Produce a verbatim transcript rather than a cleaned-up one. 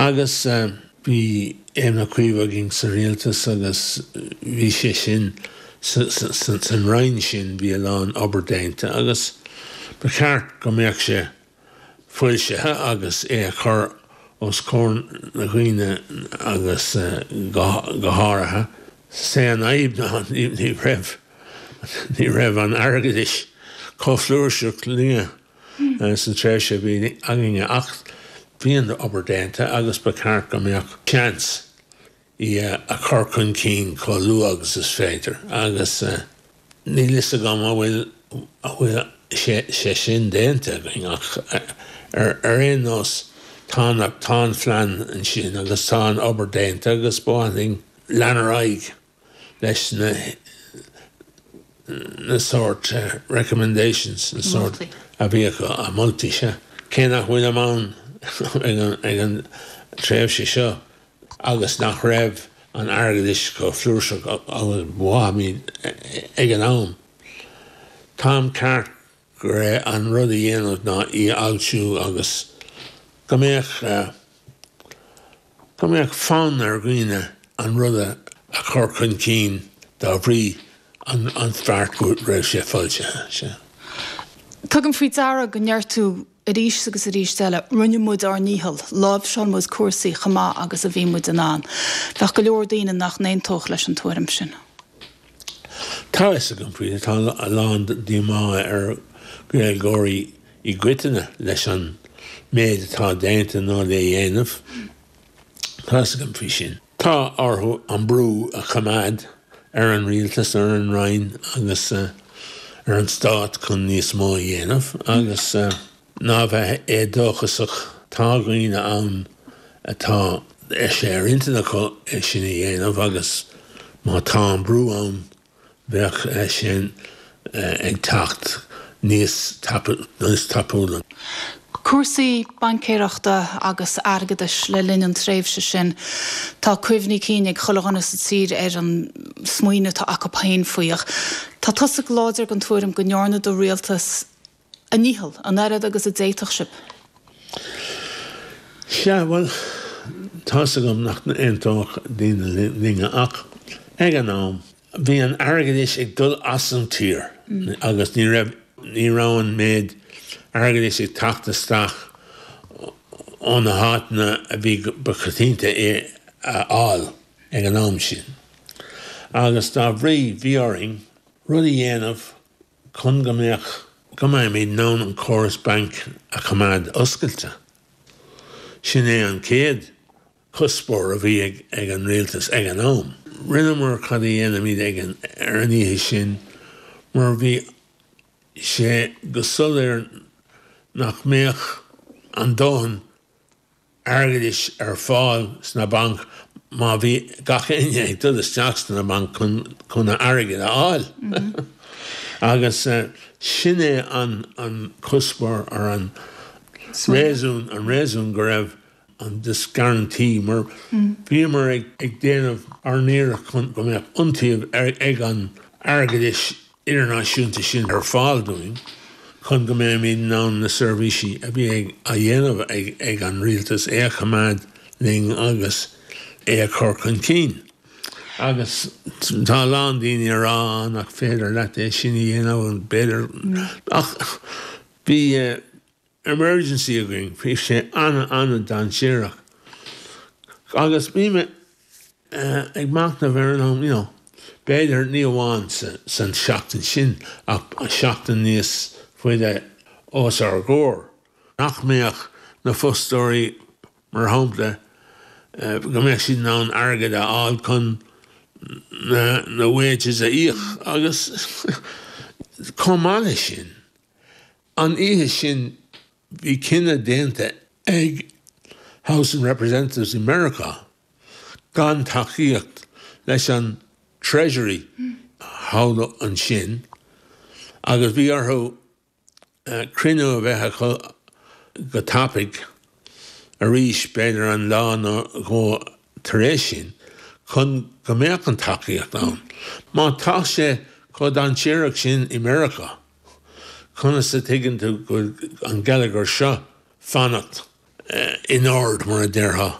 Agus bhí Éamon Ó Cuív againn sa rialtas agus bhí sé sin san Roinn sin bhí a lán obair déanta agus ba cheart go mbeadh sé foilsithe agus é a chur os comhair na ndaoine agus go háirithe. Sé an fhadhb ná ní raibh ní raibh an airgeadas chomh flúirseach linne san tréimhse bhí againne ach bhí an obair déanta agus ba cheart go mbeadh seans í a chur chun cinn chomh luath agus is féidir agus níl fhios agam an bhfuil an bhfuil sé sé sin déanta againn ach ar ar aon nós tá tá an phlean ansin agus tá an obair déanta agus ba mhaith linn lean ar aghaidh leis na na sort recommendations na sort a bhí a moltaí se. Cé nach bhfuil ann ag an tréimhse seo agus nach raibh an airgeadas chomh flúirseach agus bhí ag an am. Táim ceart go raibh an rud a dhéanamh ná í fhoilsiú agus go mbeadh go mbeadh fonn ar dhaoine an rud a chur chun cinn dá bhrí an an feart go raibh sé foilsithe sé. Tugaim faoi deara go ndeir tú arís agus arís eile rinne muid ár ndícheall, láimhseáil muid cúrsaí chomh maith agus a bhí muid in ann. Bheadh go leor daoine nach n-aontódh leis an tuairim sin. Tá fhios agam faoi tá a lán díomá ar Ghaeilgeoirí i gcoitinne leis an méid atá déanta nó le dhéanamh. Tá fhios agam faoi sin. Tá orthu an brú a choimeád ar an rialtas ar an Roinn agus uh, ar an stát chun níos mó a dhéanamh agus uh, ná bheith éadóchasach tá daoine ann atá sé ar intinn acu é sin a dhéanamh agus má tá an brú ann bheadh é sin ag teacht níos níos tapúla. Cúrsaí baincéireachta agus airgeadais le linn an tréimhse sin Tá cuimhní cinn ag chuile dhuine sa tír ar an smaoineamh atá acu féin faoi ach. Tá tusa láidir den tuairim go ndearna do rialtas a ndícheall an oiread agus a d'fhéadfadh sibh. Sea bhuel tá fhios agam nach n-aontódh daoine linne ach ag an am bhí an airgeadas ag dul as an tír agus ní raibh ní raibh an méid airgeadas ag teacht isteach ó na háiteanna a bhí ba choitianta é a fháil ag an am sin. Agus dá bhrí bhí orainn rud a dhéanamh chun go mbeadh go mbeimid in ann an córas banc a choimeád oscailte. Sin é an chéad cuspóir a bhí ag, ag an rialtas ag an am. Rinneamar cad a dhéanaimid ag an ar an oíche sin mar bhí sé go soiléir nach mbeadh an dóthain airgeadais ar fáil sna bainc má bhí gach éinne ag dul isteach sna bainc chun chun a airgead a fháil. Mm -hmm. Agus uh, sin é an an cuspóir ar an réasún an réasún go raibh an this guarantee mar mm. bhíomar ag, ag déanamh ár n-iarracht chun go mbeadh iontaoibh ag an airgeadas idirnáisiúnta sin ar fáil dúinn chun go mbeimid in ann na seirbhísí a bhí ag a dhéanamh ag, ag an rialtas é a choimeád linn agus é a chur chun cinn. Agus tá lán daoine a rá nach féidir leat é sin a dhéanamh an b'fhéidir ach bhí uh, emergency againn bhí sé an an-dainséarach. Agus bhí mé uh, ag machnamh ar an you know, b'fhéidir ní amháin san seachtain sin ach seachtain níos faide os ár gcomhair. Nach mbeadh na fostóirí mar shampla uh, go mbeadh siad in ann airgead a fháil chun na, na wages a íoc agus chomh maith leis sin. An oíche sin bhí cinneadh déanta ag House of Representatives in America gan tacaíocht leis an Treasury thall ansin agus bhí orthu uh, cruinniú a bheith acu go tapaidh arís b'fhéidir an lá nó dhó tar éis sin chun go mbeadh an tacaíocht ann. Má tá sé chomh dainséarach sin i Meiriceá, Conas a tuigeann tú go an geilleagar seo fanacht uh, in ord mar a déarfá.